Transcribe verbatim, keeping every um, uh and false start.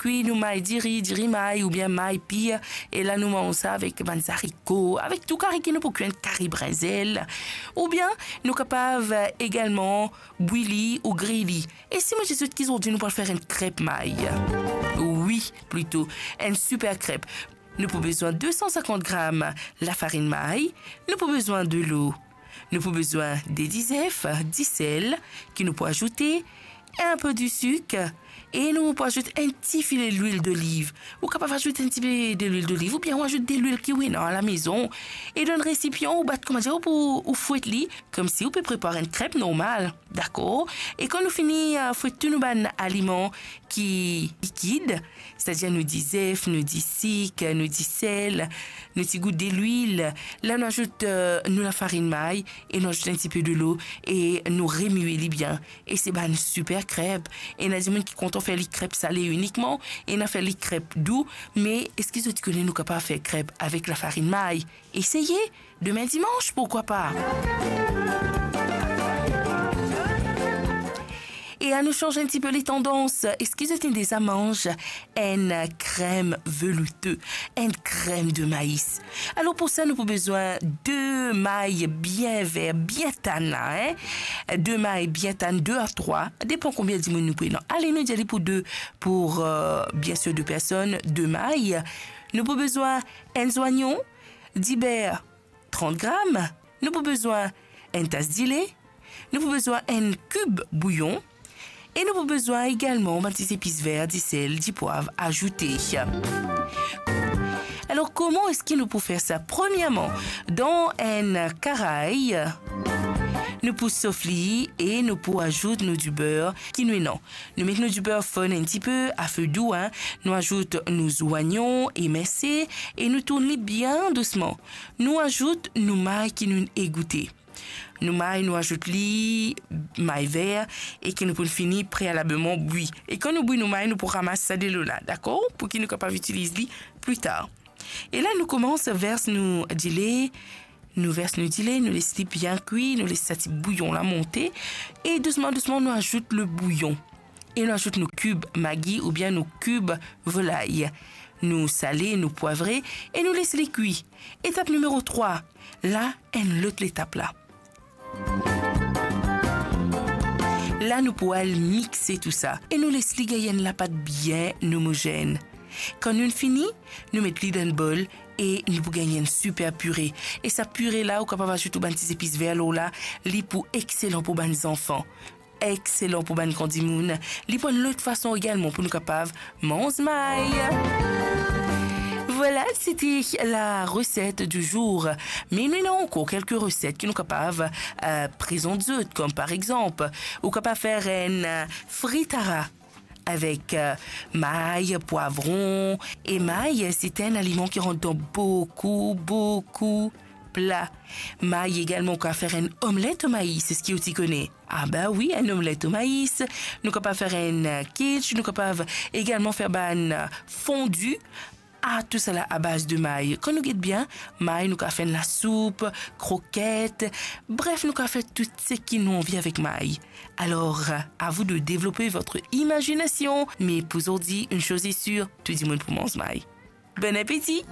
kwi nou may diri, diri may oubien may pir, e la nou manz sa avek bann zariko, avek tou kari ki nou pou kwi, enn kari brinzel, oubien nou kapav, eh, egalman bwi li ou griy li. E si mo dir zot ki zordi nou pou al fer enn krep may? Wi, plito, enn siper krep. Nou pou bizin de san sinkant gram lafarinn may, nou pou bizin delo, nou pou bizin de dizef, disel ki nou pou azoute, enn pe disik, e nou pou azout enn ti file lwil doliv. Ou kapav azout enn tipe delwil doliv, oubien ou azout delwil ki ou ena alamezon. E dan enn resipian, ou bat, kouma dir, ou pou, ou fwet li, koumsi ou pe prepar enn krep normal, dakor? E kan nou fini, eh, fwet tou nou bann aliman ki likid, setadir nou dizef, nou disik, nou disel, nou ti gout delwil, la nou azout, eh, nou lafarinn may e nou azout enn tipe delo e nou remie li bien. E se bann siper krep. Ena dimoun ki kontan fer li krep sale inikman, ena fer li krep dou, me eski zot ti kone nou kapav fer krep avek lafarinn may? Eseye, demin dimans, pourkwa pa? E anou sanz enn tipe letandans. Eski zot inn deza manz enn krem veloute, enn krem de mais? Alor, pou sa, nou pou bizin de may bien ver, bien tann la, hein? De may bien tann, de a trwa, depan konbien dimoun nou pou ena. Ale, nou dir li pou de, pou, euh, biensir de personn, de may. Nou pou bizin enn zwayon, diber, trant gram. Nou pou bizin enn tas dile. Nou pou bizin enn kib bouyon. E nou pou bizin egalman bann ti zepis ver, disel, dipwav azoute. Alor, kouma eski nou pou fer sa? Premierman, dan enn karay, nou pou sof li e nou pou azout nou diber ki nou ena. Nou met nou diber fonn enn tipe a fe dou, hein. Nou azout nou zwayon eminse e nou tourn li bien dousman. Nou azout nou may ki nou egoute. Nou may, nou azout li, may ver, e ki nou pou fini prealableman bwi. E kan nou bwi nou may, nou pou ramas sa delo la, dakor? Pou ki nou kapav itiliz li pli tar. E la, nou koumans vers nou dile, nou vers nou dile, nou les li bien kwi, nou les sa ti bouyon la monte, e dousman, dousman, nou azout le bouyon. E nou azout nou kib magi oubien nou kib volay. Nou sale, nou pwavre e nou les li kwi. Etap nimero trwa, la, enn lot letap la. La, nou pou al mixe tou sa e nou les li gagn enn lapat bien omozenn. Kan nou fini, nou met li dan enn bol e nou pou gagn enn siper pire. E sa pire la, ou kapav azout ou bann ti zepis ver lor la, li pou exelan pou bann zanfan. Exelan pou bann gran dimoun. Li pou enn lot fason egalman pou nou kapav manz may. Vwala, sete la reset di zour. Me nou ena ankor kelke reset ki nou kapav, euh, prezant zot, kom par exanp, ou kapav fer enn, euh, fritara avek, euh, may, pwavron. E may, se enn aliman ki rant dan boukou, boukou pla. May egalman, ou kapav fer enn omlet o mais, eski ou ti kone? Ah ben wi, enn omlet o mais. Nou kapav fer enn, euh, quiche, nou kapav egalman fer bann, euh, fondue. Ah, tousala a baz de may. Kan nou get bien, may nou kapav fer enn lasoup, kroket. Bref, nou kapav fer tou seki nou anvi avek may. Alors, à vous de développer votre imagination. Me pou zordi, une chose est sûre, tou dimoun pou manz may. Bon apeti!